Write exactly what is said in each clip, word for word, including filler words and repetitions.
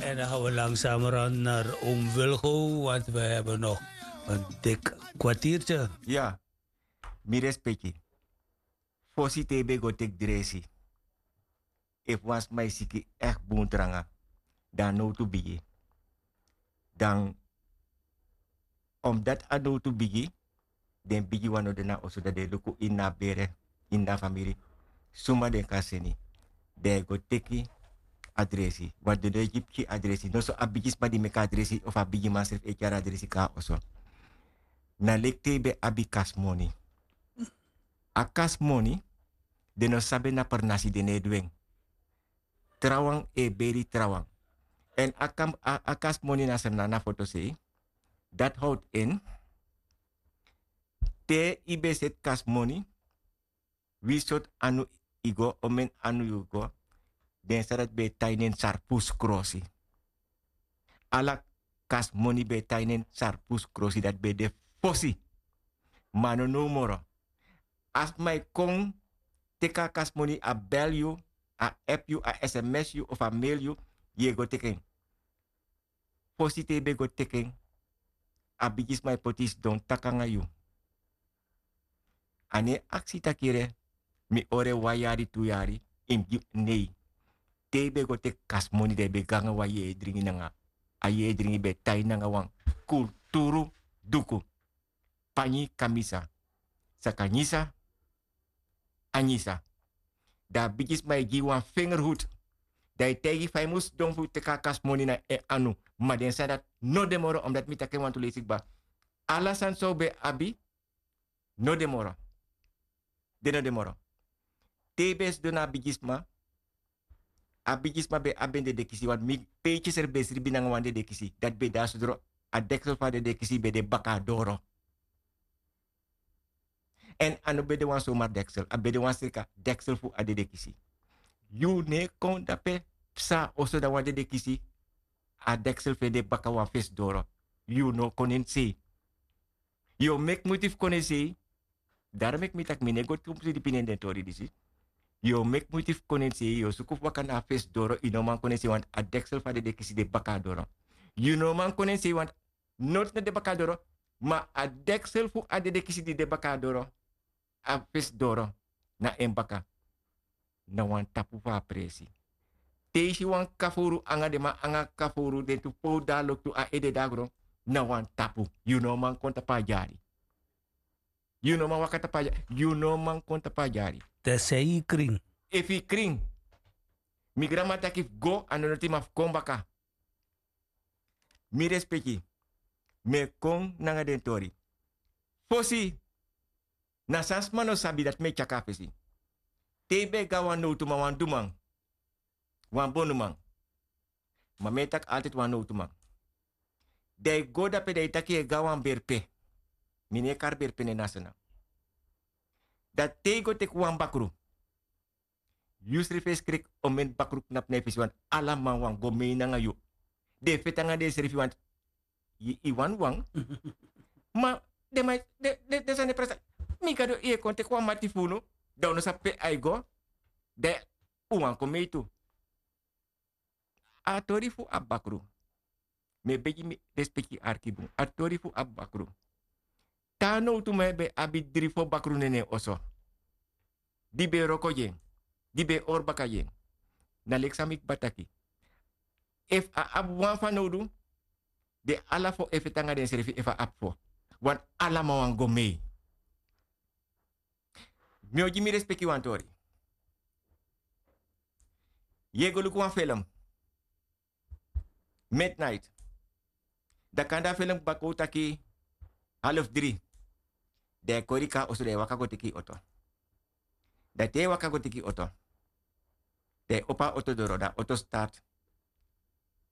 En dan gaan we langzamerhand naar oom Wilgo, want we hebben nog een dik kwartiertje. Ya, mi respeki. Fosi te yu ben go teki dresi. Efu wan sma e siki echt bun tranga, dan a nowtu bigi. Dan omdat a nowtu bigi, den bigi wan no de na oso, dan den e luku ini a bere, ini a famiri, suma den kan seni. Den e go teki a dresi. Wan den no e gi pikin a dresi. Noso a bigisma di meki a dresi of a bigiman srefi e tyari a dresi kon na oso. Na leki te yu ben abi kasmoni. A kasmoni, den no sabi na pernasi, den no e du en. Trawan e beri trawan. Èn a kam-, a, a kasmoni na srna na fotosei. Dati howtu en. Te yu ben seti kasmoni, wi sortu anu yu go, omeni anu yu go. Den sani dati ben e tan ini en sarpus krosi. Ala kasmoni ben e tan ini en sarpus krosi, dati ben de fosi. Ma a no now moro. A sma e kon teki a kasmoni, a bel yu, a app yu, a sms yu of a mail yu, yu e go teki en. Fosi te yu ben go teki en, a bigisma e poti yu sidon taki nanga yu. A no e aksi taki yere, mi hori en wan yari, tu yari, yu mus gi mi, nei. Te yu ben go teki kasmoni, dan yu ben go nanga wan yeye dringi nanga. A yeye dringi ben e tan nanga wan kulturu duku. Panyi kamisa. Saka nyisa, a nyisa. Dan a bigisma e gi yu wan fingerhoed. Dan a e taigi yu fa yu mus sidon fu teki a kasmoni na en anu. Ma den sani dati no de moro, omdat mi taki en wantu leisi kba. Ala sani san un ben abi, no de moro. Den no de moro. Te yu ben sidon na a bigisma, a bigisma ben abi en dedekisi, want mi peiti srefi ben sribi nanga wan dedekisi. Dati ben de na sudro, a deksel fu a dedekisi ben de baka a doro. Èn a no ben de wan somar deksel, a ben de wan srika deksel fu a dedekisi. Yu no e kon dape psa oso na wan dedekisi, a deksel fu en de baka wan fesi doro. Yu no o kon na en sei. Yu o meki muiti fu kon na en sei. Daro meki mi taki mi no e go tu mus dipi na den tori disi. Yu o meki muiti fu kon na en sei, yu o suku fu waka na a fesi doro, yu no man kon na en sei, want a deksel fu a dedekisi de baka a doro. Yu no man kon na en sei, want noti no de baka a doro, ma a deksel fu a dedekisi di de baka a doro, a fesi doro, na en baka. Na wan tapu fu a presi. Te yu si wan kafowru anga den man anga kafowru, den tu powdu a loktu, a ede de na gron, na wan tapu. Yu no man kon tapu a dyari. Yu no man waka tapu a dyari. Yu no man kon tapu a dyari. Te sei yu krin. Efu yu krin. Mi granma taki fu go, a no noti, ma fu kon baka. Mi respeki. Mi e kon nanga den tori. Fosi, na san sma no sabi, dati mi e tyari a fesi. Te yu ben e go na wan nowtuman, wan duman, wan bonuman. Ma mi e taki altide wan nowtuman. Dan yu go dape, dan yu taki yu e go na wan berpe. Mi no e kari berpe na en na Sranan. Dan te yu go teki wan bakru, yu srefi e skreki omeni bakru knapu na yu fesi, want ala man wani go mei nanga yu. Den e feti nanga densrefi, want yu, yu wani wan. Ma den man, den, den, den sani e presi. Mi Gado, yu e kon teki wan mati fu unu, dan un no sabi pe a e go. Dan un wani kon mei tu. A tori fu a bakru. Mi e begi, mi respeki, arki bun. A tori fu a bakru. Te a nowtuman ben abi dri fo bakru na en oso, di ben e wroko gi en, di ben e hori baka gi en. Na leki san mi kba taki. Efu a abi wan fanowdu, den ala fo e feti nanga densrefi efu a abi fo. Want ala man wani go mei. Mi o gi mi respeki wan tori. Yu e go luku wan felem midnight. Dan kande a felem kba kon taki half dri. Dan yu e kori kon na oso, dan yu e waka go teki yu oto. Dan te yu e waka go teki yu oto, dan yu e opo a oto doro, dan a oto start.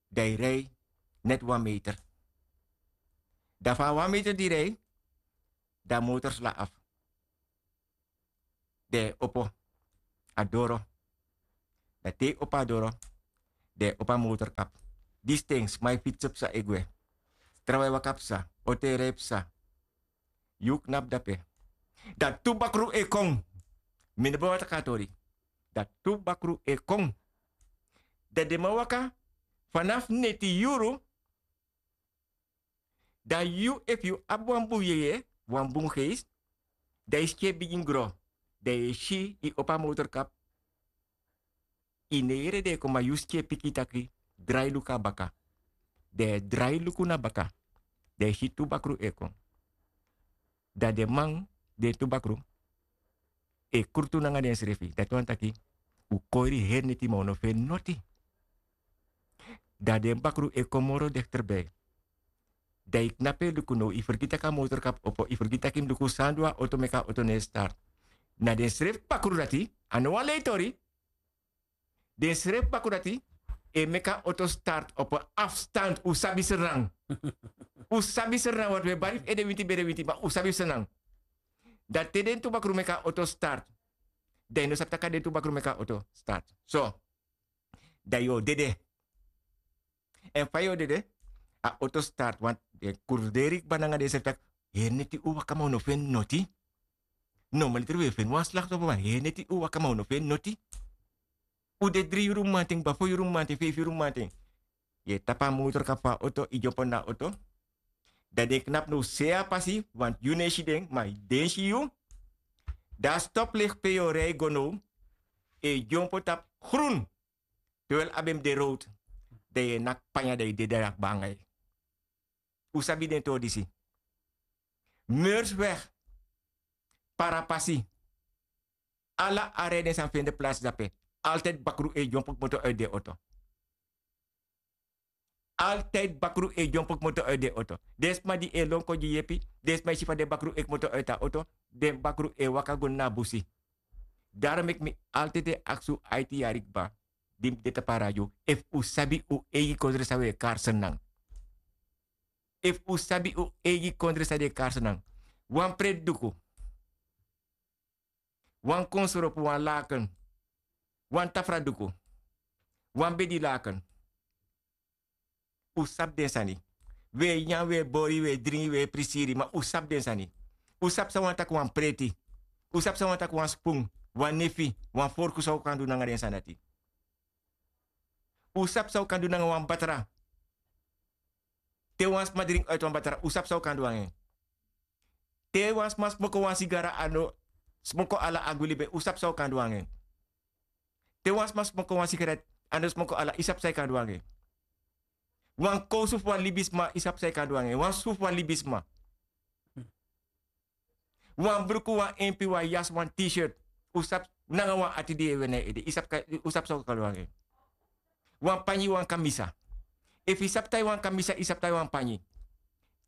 Dan yu rei neti wan meter. Dan fu a wan meter di yu rei, dan a motor sla afu. Dan yu e opo a doro. Dan te yu opo a doro, dan yu e opo a motor knapu. Disi ten sma e fitsi psa e gwe. Trawan e waka psa, oto e rei psa. Yu knapu dape. Dan tu bakru e kon. Mi no ben wani taki a tori. Dan tu bakru e kon. Dan den man waka, Fanafu neti yuru, dan yu efu yu abi wan bun yeye, wan bun geisi, dan yu skin e bigin gro, dan yu e si yu opo a motorkap. Yu no e yere den e kon, ma yu skin e piki yu taki, drai luku na baka. Dan yu e drai luku na baka, dan yu si tu bakru e kon. Dan den man, den tu bakru e krutu nanga densrefi. Dati wani taki, un koiri heri neti ma un no feni noti. Dan den bakru e kon moro dekterbi. Dan yu knapu e luku now, yu fergiti taki a motorkap opo, yu fergiti taki yu mus luku san du a oto meki a oto no e start. Na densrefi bakru dati, a no wan lei tori. Densrefi bakru dati e meki a oto start op a afstand. Un sabi Sranan. Un sabi Sranan, want un e bari fu ede winti bere winti, ma un sabi Sranan. Dan te den tu bakru meki a oto start, dan yu no sabi taki a den tu bakru meki a oto start. So, dan yu o dede. Èn fa yu o dede, a oto start, want den kurderi kba nanga densrefi taki, heri neti un waka ma un no feni noti. Normaliter un e feni wan slachtoffer, ma heri neti un waka ma un no feni noti. Un de dri yuru mamanten, kba fo yuru mamanten, feifi yuru mamanten. Yu e tapu a motorkap fu a oto, yu dyompo na a oto. Dan den knapu now sei a pasi, want yu no e si den, ma den si yu. Dan a stoplicht pe yu o rei go now e dyompo tapu grun. Terwijl a ben mus de road, dan yu e naki panya, dan yu dede na kba nanga yu. Un sabi den tori disi. Meursweg, Parapasi, ala a rei den sani fende plaats dape. Altijd bakru e dyompo kmoto uit den oto. Altijd bakru e dyompo kmoto uit den oto. Den sma di e lon kon gi yepi, den sma e si fa den bakru e kmoto uit a oto, den bakru e waka go na busi. Daarom meki mi altijd e aksi un aiti yari kba di mi de tapu a radio, efu un sabi un eigi kondre san un e kari Sranan. Efu un sabi un eigi kondre san den e kari Sranan. Wan preti duku, wan konsropu, wan laken, wan tafra duku, wan bedi laken. Un sabi den sani. Un e nyan, un e bori, un e dringi, un e prisiri, ma un sabi den sani. Un sabi san wani taki wan preti. Un sabi san wani taki wan spun, wan nefi, wan forku, san un kan du nanga den sani dati. Un sabi san un kan du nanga wan batra. Te wan sma dringi uit wan batra, un sabi san un kan du nanga en. Te wan sma smoko wan sigara, a no smoko ala a gwi libi en, un sabi san un kan du nanga en. Te wan sma smoko wan sigaret, a no smoko ala, yu sabi san yu kan du nanga en. Wan kowsu fu wan libisma, yu sabi san yu kan du nanga en. Wan su fu wan libisma. Wan bruku, wan empi, wan yasi, wan t-shirt, un sabi, nanga wan ati di yu e weri na yu ede, yu sabi san un kan du nanga en. Wan panyi, wan kamisa. Efu yu sabi tai wan kamisa, yu sabi tai wan panyi.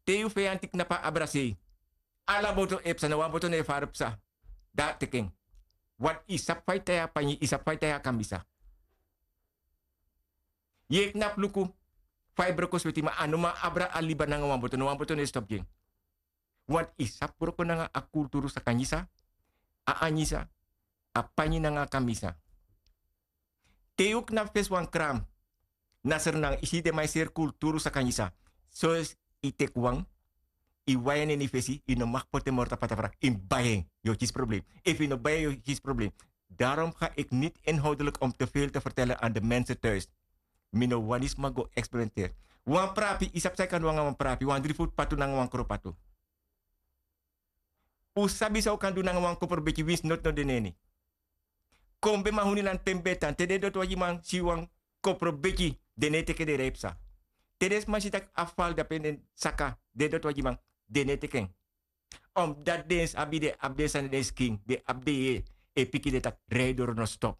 Te yu feyanti knapu a abra sei, ala boto e psa, na wan boto no e fara psa. Dan a teki en. Want yu sabi fa yu tai a panyi, yu sabi fa yu tai a kamisa. Yu e knapu luku fa yu broko sweti, ma a no man abra a liba nanga wan boto, no wan boto no e stopu gi en. Want yu sabi broko nanga a kulturu sakanyisa, a anyisa, a panyi nanga a kamisa. Te yu knapu fesi wan kram na Sranan, yu si den man e seri kulturu sakanyisa. So yu teki wan, yu wai en na ini fesi, yu no mag poti en moro tapu a tafra, yu mus bai en, yu o kisi problem. Efu yu no bai en, yu o kisi problem. Daarom ga ik niet inhoudelijk om te veel te vertellen aan de mensen thuis. Mi no wani sma go experimenteri. Wan prapi, yu sabi san yu kan du nanga wan prapi, wan dri futu patu nanga wan kro patu. Un sabi san un kan du nanga wan koprobeki winsi noti no de na ini. Kon ben mahunilan pe mi ben tan, te den doti wagiman si wan koprobeki, den no e teki den rei psa. Te den sma si tak' a fal dape, den saka, den doti wagiman, den no e teki en. Omdat den abi den, abi den sani den skin, den abi den yeye e piki den tak' rei doro no stop.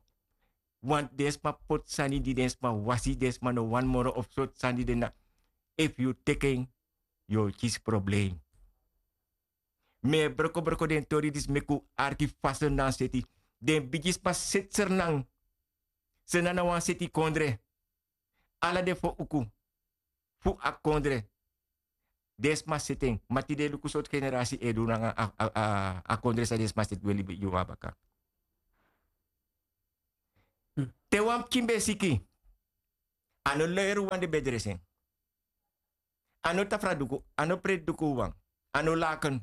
Want den sma poti sani di den sma wasi, den sma no wani moro of sortu sani di den na. Efu yu teki en, yu o kisi problem. Mi e broko broko den tori disi meki un arki fa Sranan seti. Den bigisma seti Sranan. Sranan na wan seti kondre. Ala den fo uku fu a kondre, den sma seti en. Ma tide luku sortu generasi e du nanga a, a, a, a kondre san den sma seti, weli yu wan baka. Te wan pikin ben siki, a no leri wan den ben dresi en. A no tafra duku, a no preti duku wan, a no laken.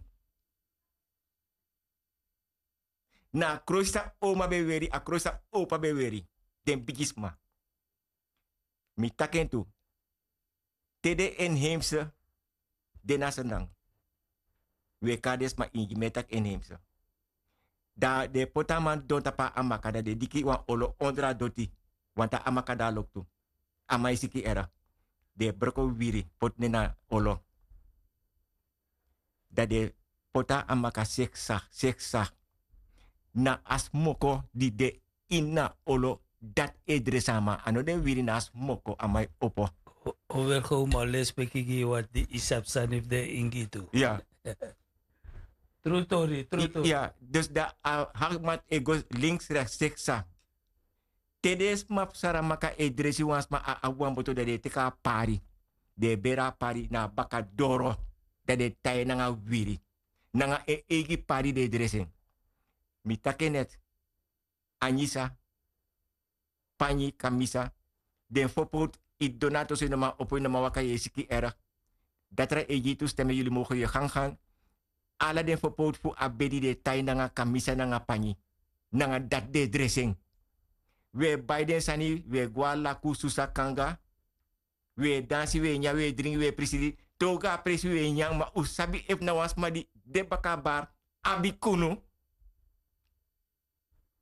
Na a krosi san oma ben weri, a krosi san opa ben weri. Den bigisma. Mi taki en tu. Te den inheimse de na srnan. Wi e kari den sma ingi, mi e taki inheimse. Dan den e poti a man didon tapu a amaka, dan den e diki wan olo ondro a doti. Wanta amaka de a loktu. A man e siki era. Den e broko wiwiri poti nen na olo. Dan den e poti a amaka seksa seksa. Na a smoko di de ini a olo, dati e dresi a man. A no den wiwiri, na a smoko a man e opo. Overgo, ma lespeki gi yu, want di yu sabi sani fu den ingi tu. Ya. Tru tori, tru tori. Ya, dus dan a hakmat e go links rechts seksa. Te den sma fu Saramaka e dresi wan sma, a abi wan boto, dan den e teki a pari. Den e beri a pari na a baka doro. Dan den e tai en nanga wiwiri. Nanga en eigi pari den e dresi en. Mi taki en net. Anyisa, panyi, kamisa. Den fopowtu, yu didon na a toso, yu no man opo, yu no man waka, yu e siki erg. Datra e gi yu tu stem, yuli mogen yu gangan. Ala den fopowtu fu a bedi den e tai nanga kamisa nanga panyi. Nanga dati den e dresi en. Wi e bai den sani, wi e go a laku, susa, kanga. Wi e dansi, wi e nyan, wi e dringi, wi e prisiri. Te un go a presi wi e nyan, ma un sabi efu na wan sma di de baka a bar abi kunu.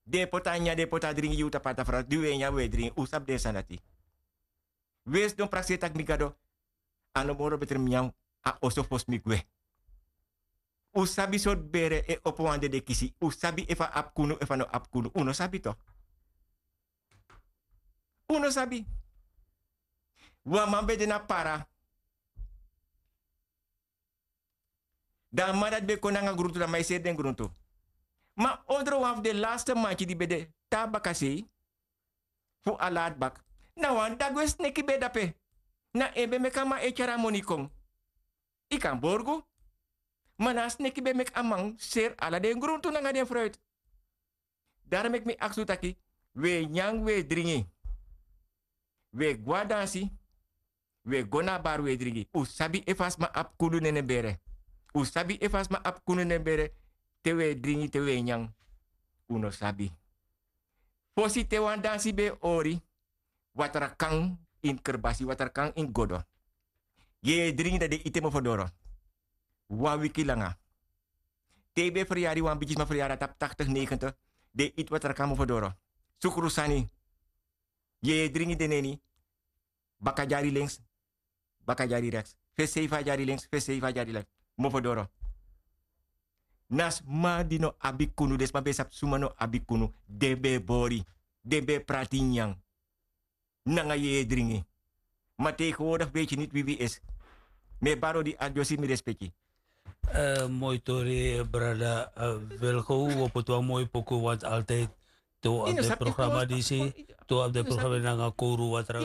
Den e poti a nyan, den e poti a dringi gi un tapu a tafra, di wi e nyan, wi e dringi. Un sabi den sani dati. Wi e sidon prakseri taki mi Gado, a no moro betri mi nyan a oso fosi mi gwe. Un sabi sortu bere e opo wan dede kisi. Un sabi efu a abi kunu, efu a no abi kunu. Un no sabi tok. Un no sabi. Wan man ben de na para. Dan a man dati ben kon nanga gruntu, dan a man e seri den gruntu. Ma ondro wan fu den laste manki di ben de te na bakasei fu a ladbak, na wan dagwe sneki ben de ape. Na en ben meki a man e tyari a moni kon. Yu kan borgu. Ma na a sneki ben meki a man seri ala den gruntu nanga den fruit. Daro meki mi aksi un taki, wi e nyan, wi e dringi. Wi e go a dansi. Wi e go na a bar, wi e dringi. Un sabi efu a sma abi kunu nanga en bere. Un sabi efu a sma abi kunu nanga en bere. Te wi e dringi, te wi e nyan. Un no sabi. Fosi te wan dansi ben e hori, watra kan ini kerbasi, watra kan ini godo. Yu e dringi, dan den e iti en mofodoro. Wan wiki langa. Te yu ben feryari, wan bigisma feryari a tapu taktig, negentig, den e iti watra kan mofodoro. Sukru sani. Yu e dringi den neni. Baka dyari links, baka dyari rechts. Fesi seifi a dyari links, fesi seifi a dyari rechts. Mofodoro. Na sma di no abi kunu, den sma ben sabi suma no abi kunu, den ben e bori, den ben e prati nyan nanga yu e dringi. Ma tegenwoordig weet je niet wie wie is. Mi e bari odi, a dyosi, mi respeki. Eh, moi tori, eh, brada, eh, Wilgo, wi o poti wan moi poku, want altijd te wi abi den programma disi, te wi abi den programma nanga Koru Watra.